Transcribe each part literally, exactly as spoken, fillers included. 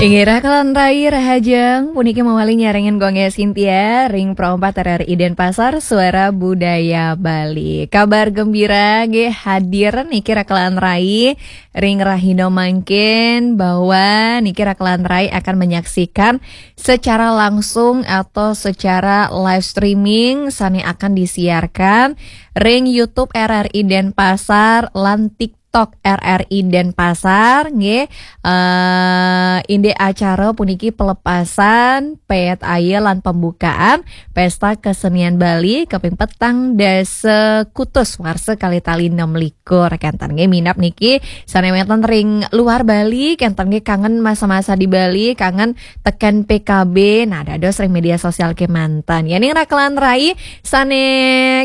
Inggih, Rakelan Rai Rahajeng, puniki mawali nyarengin Gong Cynthia, ring Pro empat R R I Denpasar, Suara Budaya Bali. Kabar gembira nggih hadir niki Rakelan Rai, ring rahina mangkin bahwa niki Rakelan Rai akan menyaksikan secara langsung atau secara live streaming sane akan disiarkan ring YouTube R R I Denpasar lan TikTok R R I Denpasar, nggih. Eh, indik acara puniki pelepasan pet aye lan pembukaan Pesta Kesenian Bali kaping petang dasa kutus warsa kalih tali enam likur. Kenten nggih minab niki sane wenten ring luar Bali, kenten nggih kangen masa-masa di Bali, kangen teken P K B, nah, dados ring media sosial kemanten. Yening Rakelan Rai sane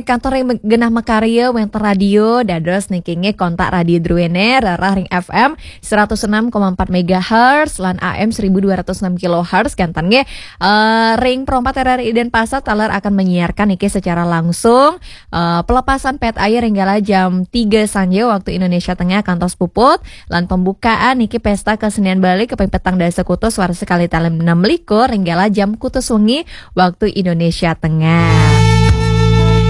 kantor ring genah makarya wenten radio, dados niki nggih kontak Radio Druene, rerah ring F M seratus enam koma empat megahertz lan A M seribu dua ratus enam kilohertz, kenten nggih. Eh, ring Pro empat R R I Denpasar taler akan menyiarkan niki secara langsung, eh, pelepasan pet aye ring kala jam tiga sanja waktu Indonesia Tengah kantos puput, lan pembukaan niki Pesta Kesenian Bali kaping petang dasa kutus warsa kalih tali enam likur ring kala jam kutus wengi waktu Indonesia Tengah.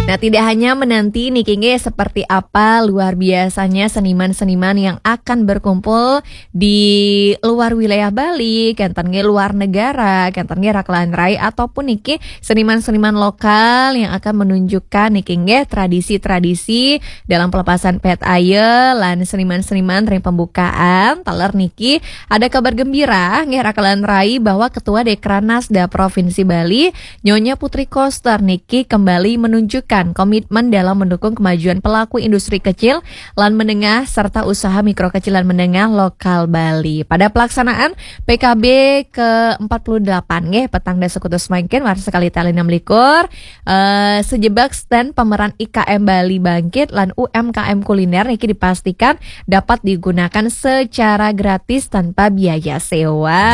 Nah, tidak hanya menanti niki nggih seperti apa luar biasanya seniman-seniman yang akan berkumpul di luar wilayah Bali, kenten nggih luar negara, kenten nggih Rakelan Rai, ataupun niki seniman-seniman lokal yang akan menunjukkan niki nggih tradisi-tradisi dalam pelepasan pet aye lan seniman-seniman ring pembukaan. Taler niki ada kabar gembira nggih Rakelan Rai bahwa Ketua Dekranasda Provinsi Bali, Nyonya Putri Koster niki kembali menunjukkan komitmen dalam mendukung kemajuan pelaku industri kecil lan menengah serta usaha mikro kecil lan menengah lokal Bali. Pada pelaksanaan P K B ke empat puluh delapan nggih, petang dasa kutus mangkin warsa kalih tali enam likur, eh, sejebak stand pameran I K M Bali Bangkit lan U M K M Kuliner niki dipastikan dapat digunakan secara gratis tanpa biaya sewa.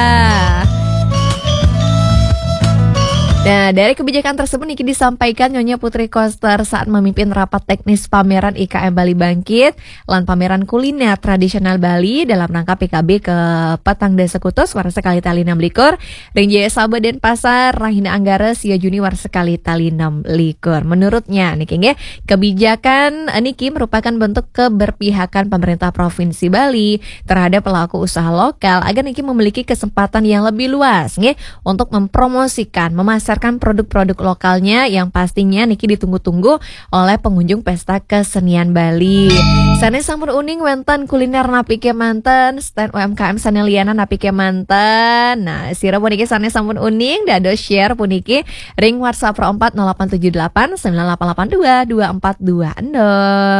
Nah, dari kebijakan tersebut niki disampaikan Nyonya Putri Koster saat memimpin rapat teknis pameran I K M Bali Bangkit lan pameran kuliner tradisional Bali dalam rangka P K B ke petang dasa kutus warsa kalih tali enam likur ring Jaya Sabha Denpasar, rahina Anggara sia Juni warsa kalih tali enam likur. Menurutnya niki nggih, kebijakan niki merupakan bentuk keberpihakan pemerintah Provinsi Bali terhadap pelaku usaha lokal agar niki memiliki kesempatan yang lebih luas nggih untuk mempromosikan, memasarkan produk-produk lokalnya yang pastinya niki ditunggu-tunggu oleh pengunjung Pesta Kesenian Bali. Sane sampun uning wenten kuliner napi kemanten, stand U M K M sane lianan napi kemanten. Nah, sira puniki sane sampun uning, dados share puniki ring WhatsApp Pro empat nol delapan tujuh delapan sembilan delapan delapan dua dua empat dua nol.